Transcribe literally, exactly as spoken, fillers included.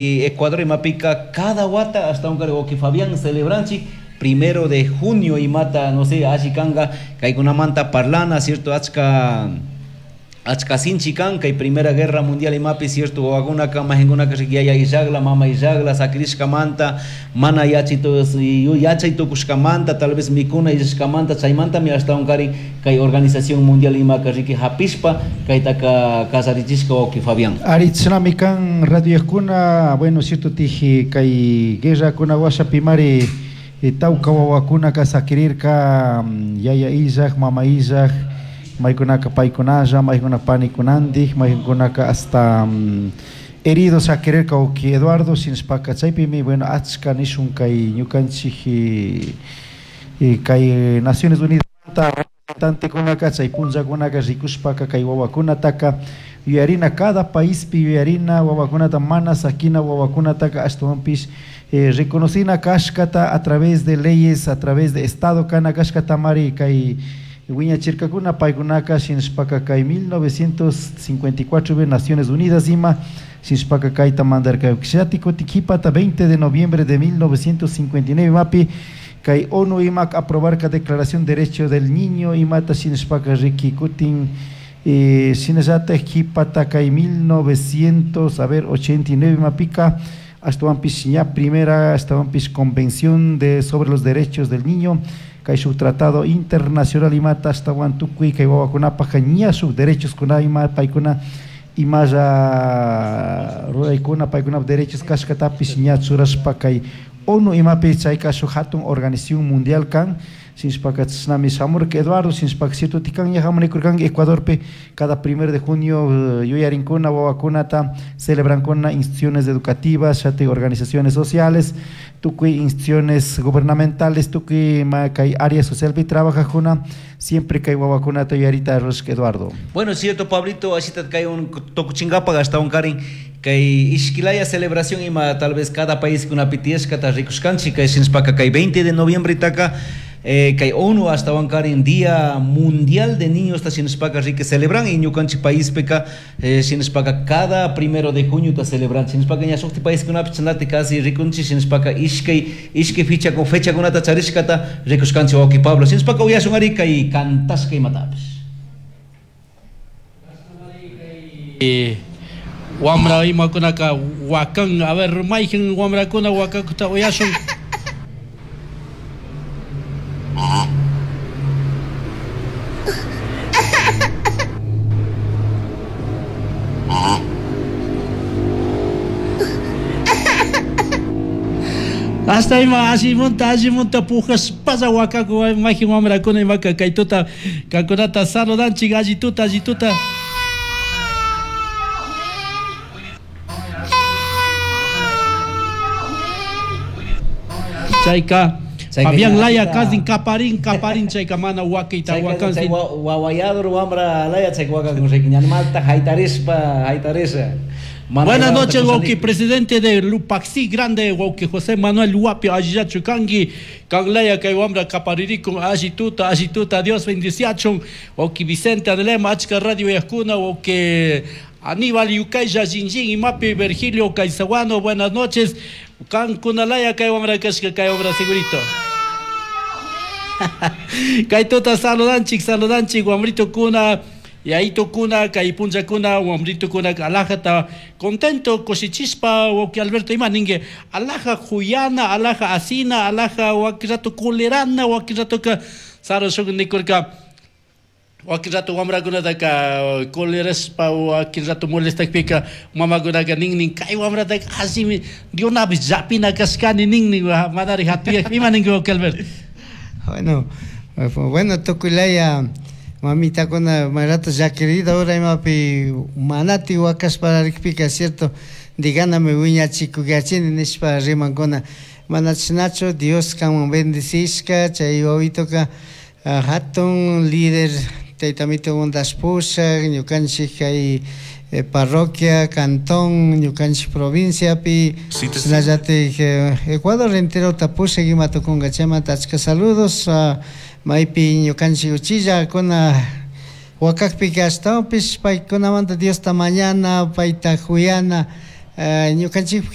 Ecuador imapika cada wata hasta un cargo que Fabián celebranchik primero de junio imata no sé alli kanga kaykunamanta parlana cierto achka achka sinchi kan kay Primera Guerra Mundial imapi cierto wawakunaka mahinkunaka yaya illagla mama illagla sakirishkamanta mana yachay yachay tukushkamanta tal vez mikuna illashkamanta chaymantami ashtawankari kay organización mundial imaka riki hapishpa kaytaka kallarichishka wawqi Fabián. Ari chinami kan radioyajkuna bueno cierto tiji kay guerrakuna washapimari tawka wawakunaka sakirirka yaya illaj mama illaj maykunaka paykunalla, maykunaka panikunandik, maykunaka hasta um, heridos sakirirka wawqi Eduardo shinashpaka chaypimi bueno achka nishun kay ñukanchik kay Naciones Unidas representantekunaka chay punllakunaka rikushpaka kay wawakunataka yuyarina cada paispi yuyarina wawakunata mana sakina wawakunataka ashtawanpish eh, reconocina kashkata a través de leyes, a través de estado kana kashkatamari kay wiñachirkakuna paykunaka shinashpaka kay mil novecientos cincuenta y cuatro Naciones Unidas ima shinashpaka kayta mandarka kutin qhipata veinte de noviembre de mil novecientos cincuenta y nueve imapi kay ONU imak aprobarka Declaración de Derechos del Niño imata shinashpaka riki kutin eh, shinallataj qhipata kay mil novecientos a ver, ochenta y nueve imapika ashtawanpish ña primera ashtawanpish Convención de sobre los Derechos del Niño kay shuk tratado internacional imata ashtawan tukuy kay wawakunapaj ña shuk derechos kuna ima paykuna imalla ruraykuna paykunap derechos kashkatapish ña churashpa kay ONU imapi chayka shuk hatun organización mundial kan shinashpaka chishnami shamurka Eduardo shinashpaka cierto tikan ña hamunikurkanki Ecuadorpi cada primero de junio yuyarinkuna wawakunata celebrankuna instituciones educativas shati organizaciones sociales tukuy instituciones gubernamentales tukuy ma kay área socialpi trabajajuna siempre kay wawakunata yuyarita rurashka Eduardo. Bueno, es cierto Pablito, ashita kay un tukuchinkapa ashtawankarin kay ishkilaya celebración ima tal vez cada país kunapi tiyashkata rikushkanchik kay shinashpaka kay veinte de noviembre taka eh, kay ONU ashtawankarin Día Mundial de Niños ta shinashpaka riki celebran y ñukanchik paispika eh, shinashpaka cada primero de junio ta celebran shinashpaka ña shukti país kunapi chanati casi rikunchik shinashpaka ishkay ishkay ficha con fecha kunata charishkata rikushkanchik wawqi Pablo shinashpaka uyashun ari kay kantashka imatapish. Eh, wamra imakunaka wakan a ver mayqin wamrakuna wakakuta uyashun. Hasta ima ashimunta ashimunta pujaspalla wakaku mayqin wamrakuna imaka kaytuta kankunata saludanchik allituta allituta. Chayka Fabián Laya kasin kaparin kaparin chayka mana wakayta wakan chay wawayador wamra Laya chay wakakun riki ñanmalta haytarispa haytarisha. Buenas noches, wawqi presidente de Lupaxi Grande, wawqi José Manuel Huapi, allillachu kanki, kan Laya kay wamra kaparirikun, allituta, allituta, Dios bendiciachun, wawqi Vicente Adelema, achka radio yajkuna, wawqi Aníbal Yucaya, Jinjin, Imapi, Virgilio Caizaguano, buenas noches, kan kunalaya kay wamra kashka kay wamra segurito. Kay tuta saludanchik, saludanchik, wamrito kuna, Yaito kuna, kay puncha kuna, wamrito kuna, alajata contento, cosichispa, wawqi Alberto ima ningue, alaja juyana, alaja asina, alaja waki rato kulerana, waki rato ka, saro shuk nikurka, waki rato wamrakunataka koleraspa, waki rato molestakpika, mamakunaka nin nin, kay wamrataka asimi, Dionapish llapina kashkani nin nin, manari hatuyak, ima ningue wawqi Alberto. Bueno, bueno, tukuylaya mamitakuna mayrato llakirida ura imapi manati wakashpararikpika cierto diganami wiñachikuyachini nishpa rimankuna mana chashnachu Dios kanman bendicishka chay wawitoka hatun líder taytamito undashpushak ñukanchik kay parroquia, cantón, ñukanchik provinciapi shinallatik Ecuador enterota pushak ima tukunka chaymanta achka saludos maypi ñukanchik uchillakuna wakakpika ashtawanpish paykunamanta Diosta mañana payta juyana Ñukanchik